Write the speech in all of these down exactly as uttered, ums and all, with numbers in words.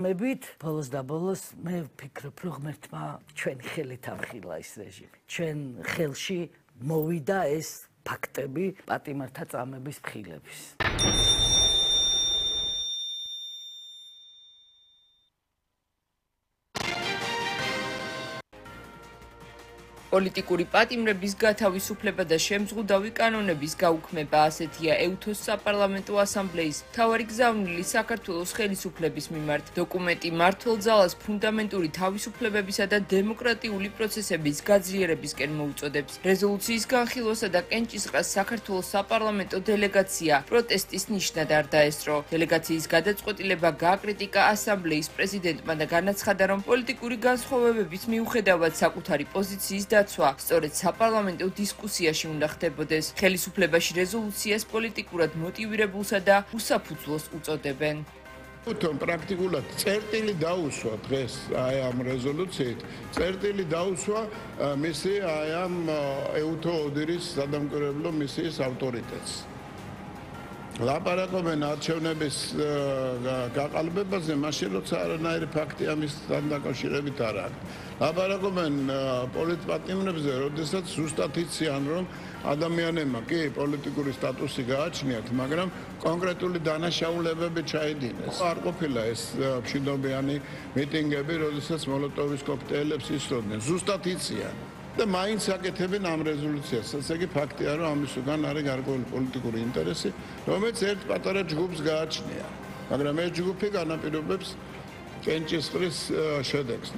მებით ბოლოს და ბოლოს მე ვფიქრობ, რომ ღმერთმა ჩვენ ხელით ამხილა ეს რეჟიმი. ჩვენ ხელში მოვიდა ეს ფაქტები პატიმართა წამების მხილების. პოლიტიკური პატიმრების გათავისუფლება და შემზღუდავი კანონების გაუქმება ასეთია ეუთოს საპარლამენტო ასამბლეის მთავარი გზავნილი საქართველოს ხელისუფლების მიმართ. დოკუმენტი მმართველ ძალას ფუნდამენტური თავისუფლებებისა და დემოკრატიული პროცესების გაძლიერებისკენ მოუწოდებს. რეზოლუციის განხილვასა და კენჭისყრას საქართველოს საპარლამენტო დელეგაცია პროტესტის ნიშნად არ დაესწრო. დელეგაციის გადაწყვეტილება გააკრიტიკა ასამბლეის პრეზიდენტმა და განაცხადა, რომ პოლიტიკური განსხვავებების მიუხედავად საკუთარი პოზიციის დაცვა სწორედ საპარლამენტო დისკუსიაში უნდა ხდებოდეს. ხელისუფლებაში რეზოლუციას პოლიტიკურად მოტივირებულსა და უსაფუძვლოს უწოდებენ. თუმცა პრაქტიკულად წერტილი დაუსვა დღეს აი ამ რეზოლუციით, წერტილი დაუსვა მისი აი ამ ეუთო ოდირის სადამკვირვებლო მისიის ავტორიტეტს. ლაპარაკობენ არჩევნების გაყალბებაზე, მაშინ როცა არანაირი ფაქტი ამისთან დაკავშირებით არ აქვს. ლაპარაკობენ პოლიტპატიმრებზე, როდესაც ზუსტად იციან, რომ ადამიანებმა კი პოლიტიკური სტატუსი გააჩნიათ, მაგრამ კონკრეტული დანაშაულებები ჩაიდინეს. არ ყოფილა ეს მშვიდობიანი მიტინგები, როდესაც მოლოტოვის კოქტეილებს ისროდნენ. ზუსტად იციან. და მაინც აკეთებენ ამ რეზოლუციას. ასე იგი ფაქტია, რომ ამის უკან არის გარკვეული პოლიტიკური ინტერესი, რომელიც ერთ პატარა ჯგუფს გააჩნია. მაგრამ ეს ჯგუფი განაპირობებს კენჭისყრის შედეგს.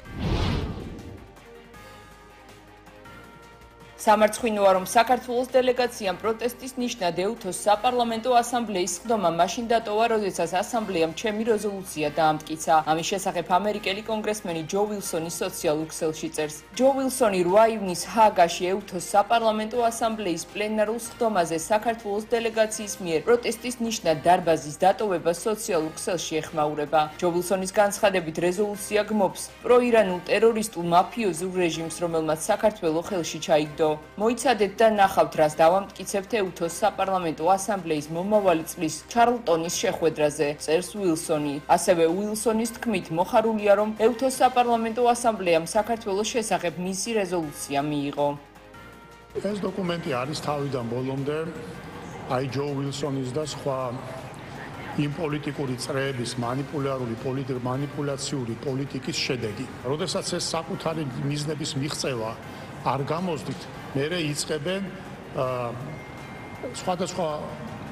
სამარცხვინოა, რომ საქართველოს დელეგაციამ პროტესტის ნიშნად ეუთოს საპარლამენტო ასამბლეის სხდომა მაშინ დატოვა, როდესაც ასამბლეამ ჩემი რეზოლუცია დაამტკიცა. ამის შესახებ ამერიკელი კონგრესმენი ჯო ვილსონი სოციალურ ქსელში წერს. ჯო ვილსონი რვა ივნისს ჰააგაში ეუთოს საპარლამენტო ასამბლეის პლენარულ სხდომაზე საქართველოს დელეგაციის მიერ პროტესტის ნიშნად დარბაზის დატოვება სოციალურ ქსელში ეხმაურება. ჯო ვილსონის განცხადებით რეზოლუცია გმობს პროირანულ ტერორისტულ მაფიოზურ რეჟიმს, რომელმაც საქართველოს ხელში ჩაიგდო. მოიცადეთ და ნახავთ, რას დავამტკიცებთ ეუთოს საპარლამენტო ასამბლეის მომავალი წლის ჩარლტონის შეხვედრაზე, წერს ვილსონი. ასევე ვილსონის თქმით, მოხარულია, რომ ეუთოს საპარლამენტო ასამბლეამ საქართველოს შესახებ მისი რეზოლუცია მიიღო. ეს დოკუმენტი არის თავიდან ბოლომდე აი ჯო ვილსონის და სხვა იმ პოლიტიკური წრეების მანიპულარული მანიპულაციური პოლიტიკის შედეგი. როდესაც ეს საკუთარი მიზნების მიღწევა არ გამოსდით, მერე იწყებენ სხვადასხვა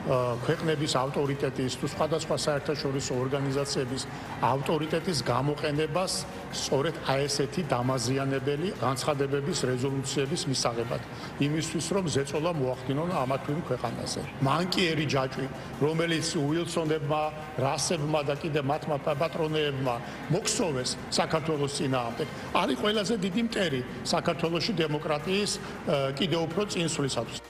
ქვეყნების ავტორიტეტის თუ სხვადასხვა საერთაშორისო ორგანიზაციების ავტორიტეტის გამოყენებას სწორედ აი ესეთი დამაზიანებელი განცხადებების რეზოლუციების მისაღებად, იმისთვის რომ ზეწოლა მოახდინონ ამა თუ იმ ქვეყანაზე. მანკიერი ჯაჭვი, რომელიც უილსონებმა, რასებმა და კიდე მათმა პატრონეებმა მოქსოვეს საქართველოს წინააღმდეგ, არის ყველაზე დიდი მტერი საქართველოში დემოკრატიის კიდევ უფრო წინსვლისათვის.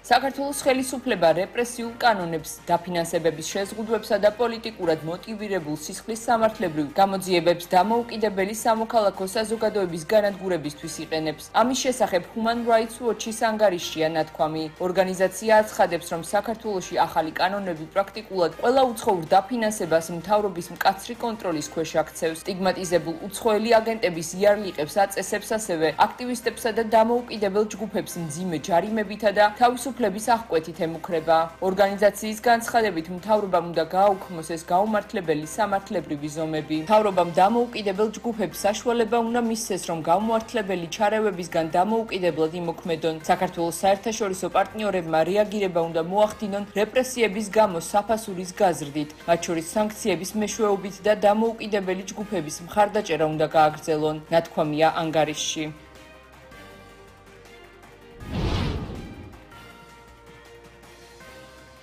საქართველოს ხელისუფლება რეპრესიულ კანონებს, დაფინანსებების შეზღუდვებსა და პოლიტიკურად მოტივირებულ სისხლის სამართლებრივ გამოძიებებს დამოუკიდებელი სამოქალაქო საზოგადოების განადგურებისთვის იყენებს. ამის შესახებ Human Rights Watch-ის ანგარიშია ნათქვამი. ორგანიზაცია აცხადებს, რომ საქართველოში ახალი კანონები პრაქტიკულად ყველა უცხოურ დაფინანსებას მთავრობის მკაცრი კონტროლის ქვეშ აქცევს. სტიგმატიზებულ უცხოელი აგენტების იარლიყებს აწესებს, ასევე აქტივისტებსა და დამოუკიდებელ ჯგუფებს მძიმე ჯარიმებითა და თავისუფლების აღკვეთით ემუქრება. ორგანიზაციის განცხადებით, მთავრობამ უნდა გააუქმოს ეს გაუმართლებელი სამართლებრივი ზომები. მთავრობამ დამოუკიდებელ ჯგუფებს საშუალება უნდა მისცეს, რომ გაუმართლებელი ჩარევებისგან დამოუკიდებლად იმოქმედონ. საქართველოს საერთაშორისო პარტნიორებმა რეაგირება უნდა მოახდინონ რეპრესიების გამო საფასურის გაზრდით, მათ შორის სანქციების მეშვეობით და დამოუკიდებელი ჯგუფების მხარდაჭერა უნდა გააგრძელონ, ნათქვამია ანგარიშში.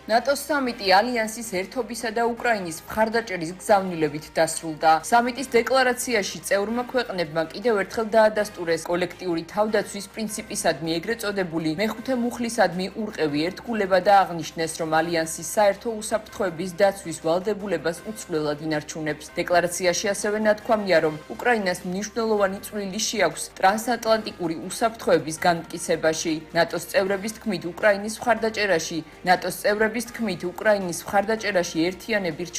ნატოს სამიტი ალიანსის ერთობისა და უკრაინის მხარდაჭერის გზავნილებით დასრულდა. სამიტის დეკლარაციაში წევრმა ქვეყნებმა კიდევ ერთხელ დაადასტურეს კოლექტიური თავდაცვის პრინციპისადმი ეგრეთ წოდებული მეხუთე მუხლისადმი ურყევი ერთგულება და აღნიშნეს, რომ ალიანსის საერთო უსაფრთხოების დაცვის ვალდებულებას უცვლელად ინარჩუნებს. დეკლარაციაში ასევე ნათქვამია, რომ უკრაინას მნიშვნელოვანი წვლილი შეაქვს ტრანსატლანტიკური უსაფრთხოების განმტკიცებაში. ნატოს წევრების თქმით, უკრაინის მხარდაჭერაში ნატოს წევრები თქმით, უკრაინის მხარდაჭერაში ერთიანები